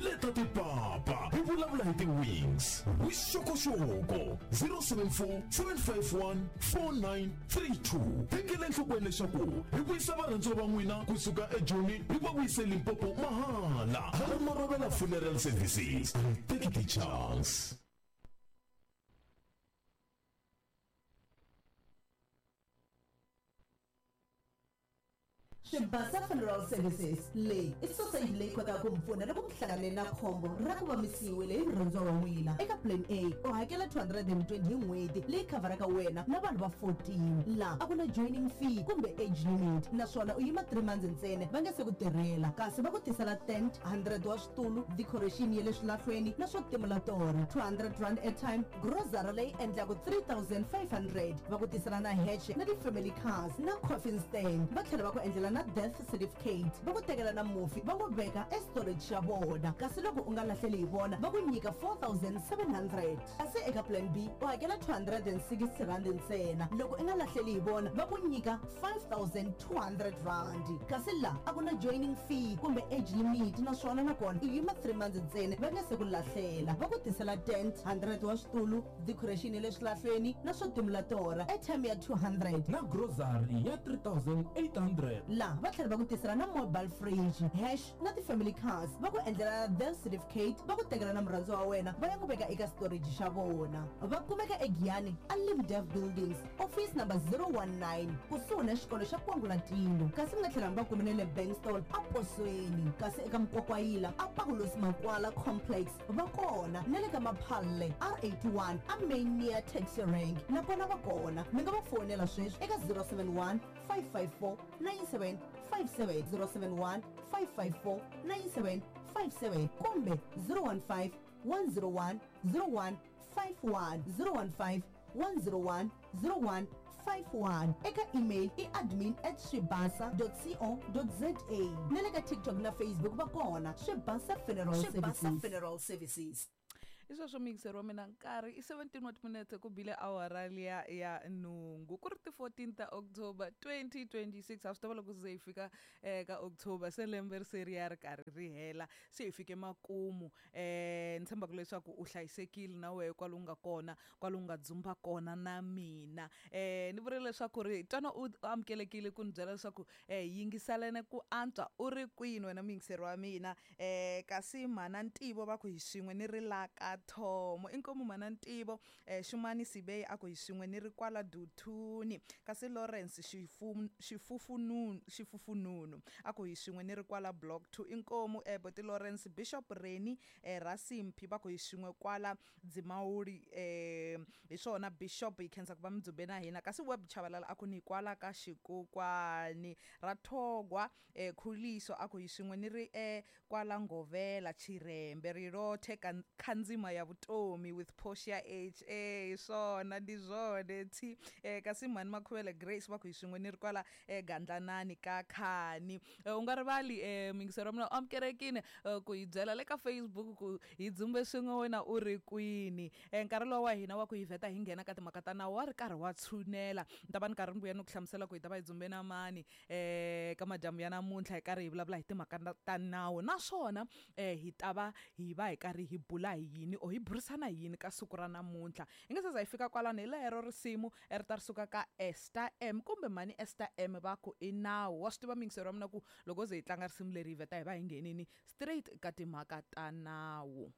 Leta tipapa hi vulavula hi ti-wings. Vuxokoxoko 074 751 4932. Tekela enhlokweni leswaku hi vuyisa varhandziwa va n'wina kusuka eJoni hi va vuyise Limpopo mahala. Hala Marobela Funeral Services a hi teki ti-chance. Swibasa Funeral Services leyi i sosayiti leyi kotaka ku mi pfuna loko mi hlangane na khombo ra ku va mi siyiwile hi murhandziwa wa n'wina. Eka Plan A u hakela 220 hi n'hweti leyi khavharaka wena na vanhu va 14. La a ku na joining fee kumbe age limit naswona u yima 3 months ntsena va nge se ku tirhela kasi va ku tisela tent, 100 wa switulu, decoration ya le swilahlweni na swo timula torha, R200 airtime, Grozara leyi endlaka 3500 va ku tisela na heche na ti-family cars na coffin stand va tlhela va ku endlela na death certificate va ku tekela na mufi va n'wi veka estorage xa vona kasi loko u nga lahleli hi vona va ku nyika 4700 kasi eka plan B u hakela 260 rand ntsena loko i nga lahleli hi vona va ku nyika 5200 rand kasi la a ku na joining fee kumbe age limit naswona nakona u yima 3 months ntsena va nga se ku lahlela va ku tisela tent 100 wa switulu decoration ya le swilahlweni na swo timula torha airtime ya 200 Na grocery ya 3800. La va tlhela va ku tisela na mobile fridge hash na ti-family cars va ku endlela na death certificate va ku tekela na murhandziwa wa wena va ya n'wi veka eka storage xa vona va kumeka eGiyani a Limdev Buildings Office number 019 kusuhi na xikolo xa Kwangulatilo kasi mi nga tlhela mi va kume na le Bankstone a Posweni kasi eka Mkwakwayila a Pakulosi Makwala Complex va kona na le ka Maphalle R81 a Main near Taxi Rank na kona va kona mi nga va fowunela sweswi eka 071 554 9757 071 554 9757 kumbe 015 101 0151 015 101 0151 eka email i admin at swibasa co za na le ka TikTok na Facebook va kona Swibasa Funeral Swibasa Services. Funeral Services. I sweswo muyingiseri wa mina nkarhi i 17 wa timinetse ku bile awara liya ya nhungu ku ri ti-14 ta October 2026 ha swi tiva loko se hi fika um ka October se lembe ri se ri ya ri karhi ri hela se hi fike makumu um ni tshembaka leswaku u hlayisekile na wehe kwale u nga kona kwale u nga dzumba kona na mina um ni vurile leswaku ri twana u amukelekile ku ni byela leswaku um yingiselene ku antswa u ri kwini wena muyingiseri wa mina um kasi mhana ntivo va ku hi swin'we ni ri la ka thomo inkomu mhana ntivo um xumani sibeyi a ku hi swin'we ni ri kwala duthuni kasi lawrence xifufununu xifufununu a ku hi swin'we ni ri kwala block 2 inkomu um boti lawrence bishop reni um rasimphi va ku hi swin'we kwala dzimawuli um hi swona bishop hi khensa ku va mi dzumbe na hina kasi web chavalala a ku ni kwala ka xikukwani ra thogwa um khuliso a ku hi swin'we ni ri e kwala ngovela chirembe rilothe khandzima ya vutomi with portia h e hi swona ndi zwone thi um kasi mhani makhuvele grace va ku hi swin'we ni ri kwala e gandlanani ka khani u nga rivali um muyingiseri wa mina u amukelekile ku hi byela le ka facebook ku hi dzumbe swin'we wena u ri kwini um nkarhi lowu wa hina wa ku hi vheta hi nghena ka timhaka ta nawu wa ri karhi wa tshunela ni ta va ni karhi ni vuya ni ku hlamusela ku hi ta va hi dzumbe na mani um ka madyambu ya namuntlha hi karhi hi vulavula hi timhaka ta nawu naswona um hi ta va hi va hi karhi hi bula hi yini or hi burisana hi yini ka siku ra namuntlha hi nga se za hi fika kwalano hi lero risimu ri ta ri suka ka Esther M kumbe mhani Esther M va ku i nawu wa swi tiva miyingiseri wa mina ku loko ze hi tlanga risimu leri hi vheta hi va hi nghenini straight ka timhaka ta nawu.